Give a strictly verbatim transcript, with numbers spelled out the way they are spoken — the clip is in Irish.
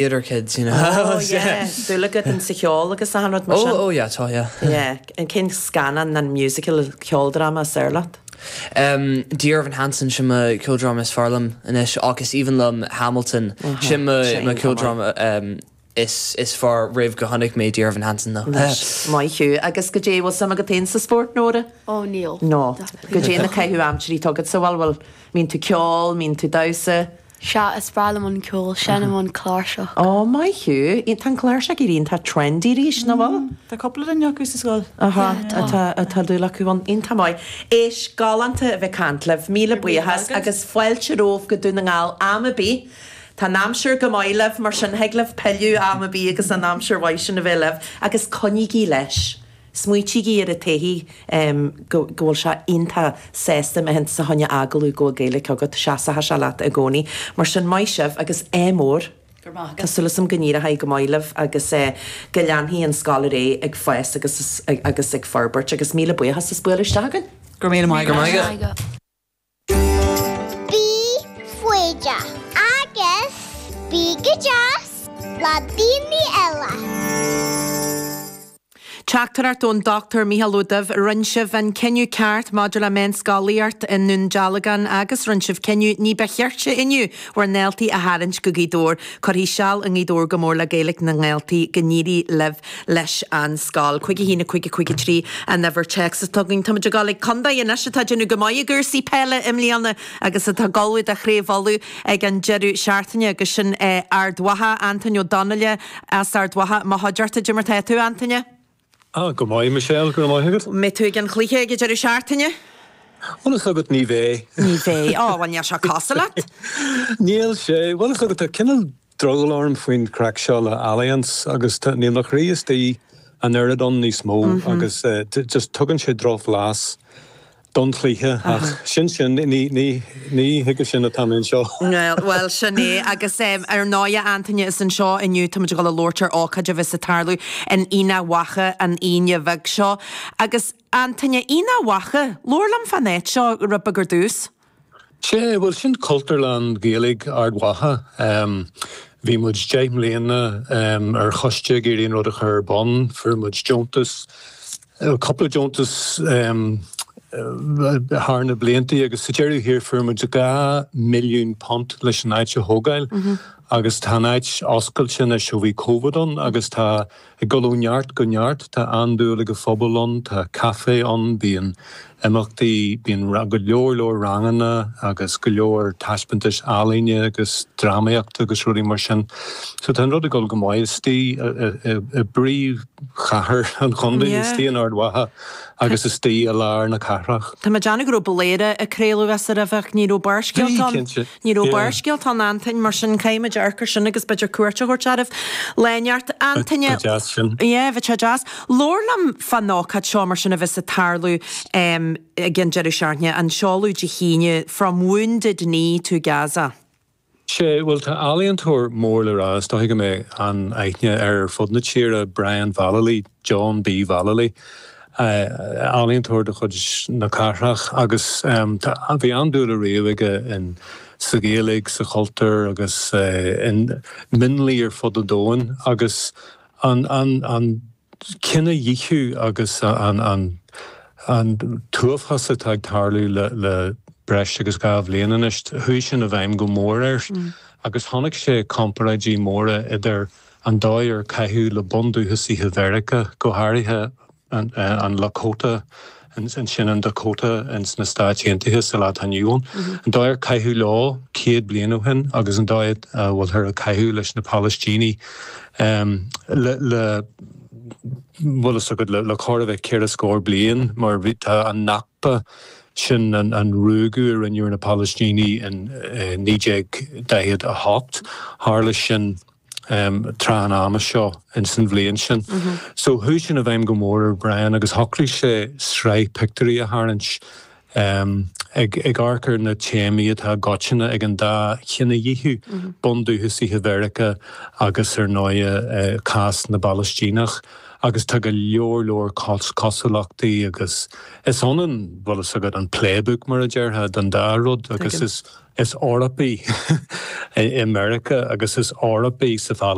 Theatre kids, you know. Oh, yeah. Dúil agat in sa cheol agus achan rud mar sin? Oh, oh yeah, tá, yeah. Yeah. An cén scannán an musical ceoldráma is fearr leat? Um, Dear Evan Hansen sin mo ceoldráma is fearr liom anois agus even liom Hamilton sin mo mo ceoldráma um, is is fearr roimh go chonaic mé Dear Evan Hansen though. Maith thú agus goidé bhfuil suim agat féin sa spórt Nóra? Ó níl. No. Goidé na caitheamh aimsirí atá agat sa bhfuil bhfuil mbíonn tú ceol, mbíonn tú damhsa? Sea, is breá liom an ceol, seinnim an cláirseach. Ó maith thú, tá an cláirseach ag éirí iontach trendy arís, nach bhfuil? Tá cúpla duine acu sa scoil. Aha, atá atá dúil acu ann. Iontach maith. Éist, galánta a bheith ag caint libh, míle buíochas agus fáilte romhaibh go Dún na nGall am ar bith. Tá an aimsir go maith libh, mar sin thig libh pilleadh am ar bith agus an aimsir mhaith sin a bheith libh agus coinnígí leis. Smaoitígí ar an taithí go bhfuil sé iontach sásta má théann tú fá choinne agallamh go bhfuil Gaeilge agat, seasfaidh sé leat i gcónaí. Mar sin, maith sibh agus ádh mór. Go raibh maith agat. Tá súil agam go n-éireoidh go maith libh agus go leanfaidh an scoil ar aghaidh ag fás agus agus ag forbairt agus míle buíochas as bualadh isteach againn. Go raibh míle maith agat. Go raibh maith agat. Bí foighdeach agus bí go deas le daoine eile. Teachtaireacht ón Dr Mícheál Ó Duibh, Rinne sibh an cinneadh ceart maidir le meánscolaíocht i nDún Dealgan agus rinne sibh cinneadh ní ba chirte inniu bhur ndaltaí a tharraingt go Gaoth Dobhair. Cuirfidh seal i Ngaoth Dobhair go mór le Gaeilge na ndaltaí. Go n-éirí libh leis an scoil. Cúig a haon a cúig a cúig a trí an uimhir téacs atá againn. Táimid ag dul ag contae anois atá ag déanamh go maith i gcúrsaí peile i mbliana agus atá ag ullmhú do Chraobh Uladh ag an deireadh seachtaine agus sin Ard Mhacha, Antaine Ó Donnaile as Ard Mhacha. Mo chuideachta, Cad é mar tá tú, Antaine? Ah, go maith, Michelle, go raibh maith agat. Mbeidh tú ag an chluiche ag an deireadh seachtaine? Bhfuil fhios agat, ní bheidh. Ní bheidh. Ó, bhuel, níl sé cosúil leat. Níl sé. Bhfuil fhios agat, tá cineál drogall orm faoin chraic seo le Allianz agus tá, níl mo chroí istigh an oiread ann níos mó agus just tugann sé drochbhlas don chluiche ach sin sin, ní, ní, ní chuige sin atá mé anseo. Bhuel, sin é. Agus ar ndóigh, a Antaine, is anseo inniu táimid ag dul a labhairt ar ócáid a bheas ag tarlú in Aonach Mhacha an Aoine bheag seo. Agus, Antaine, Aonach Mhacha, labhair liom fán áit seo rud beag ar dtús. Sea, bhuel, sin Cultúrlann Ghaeilge Ard Mhacha. Bhí muid deich mbliana ar choiste ag iarraidh an rud a chur ar bun. Fuair muid deontas, cúpla deontas thar na blianta agus sa deireadh thiar fuair muid dhá milliún punt leis an áit a thógáil agus tá an áit oscailte anois ó bhí Covid ann agus tá ag dul ó neart go neart. Tá an-dúil ag an phobal ann, tá caife ann, bíonn imeachtaí, bíonn go leor leor ranganna agus go leor taispeántais ealaíne agus drámaíochta agus rudaí mar sin. So tá an rud ag dul go maith istigh i bpríomhchathair an chontae, istigh in Ard Mhacha agus istigh i lár na cathrach. Tá mé ag déanamh go raibh Bladhaire ag craoladh as roimhe ach ní raibh Barrscéalta ann. Bhí, cinnte. Ní raibh Barrscéalta ann, Antain, mar sin caithfidh muid amharc air sin agus b'fhéidir cuairt a thabhairt oraibh. Lá inteacht. Antaine. Ba deas sin. Yeah, bheadh sé deas. Labhair liom fán ócáid seo mar sin a bheas ag tarlú ag an deireadh seachtaine, an seoladh Dé hAoine, From Wounded Knee to Gaza. Sea, bhuel tá ealaíontóir mór le rá, is dóigh go mbeidh an-aithne air ar fud na tíre, Brian Vallely, John B. Vallely, ealaíontóir de chuid na cathrach agus tá, bhí an-dúil ariamh aige in, sa Ghaeilge, sa chultúr agus in mionlaigh ar fud an domhain agus an, an, an cinedhíothú agus an, an, an t-uafás atá ag tarlú le, le breis agus dhá bhliain anois, chuaigh sin i bhfeidhm go mór air agus chonaic sé comparáidí móra idir an dóigh ar caitheadh le bundúchasaithe Mheiriceá, go háirithe an Lakota, sin an Dakota ins na Stáit Aontaithe sa lá atá inniu ann, an dóigh ar caitheadh leo céad bliain ó shin agus an dóigh a bhfuiltear ag caitheamh leis na Palaistínigh le, le, bhfuil fhios agat, le chóir a bheith ceithre scór bliain mar bhí, tá an Nakba, sin an ruaigeadh a rinneadh ar na Palaistínigh in naoi déag daichead a hocht, tharla sin tráth an ama seo ins an bhliain sin. So chuaigh sin i bhfeidhm go mór ar Brian agus shocraigh sé sraith pictiúirí a tharraingt Um, ag ag amharc ar na téamaí atá i gcoitinne ag an dá chinedhíothú mm -hmm. bundúchasaithe Mheiriceá agus ar ndóigh uh, cás na bPalaistíneach. agus tá go leor leor cosúlachtaí agus is ionann bhfuil a fhios agat an playbook mar a déarfá don dá rud agus is is Eorpaigh i Meiriceá agus is Eorpaigh sa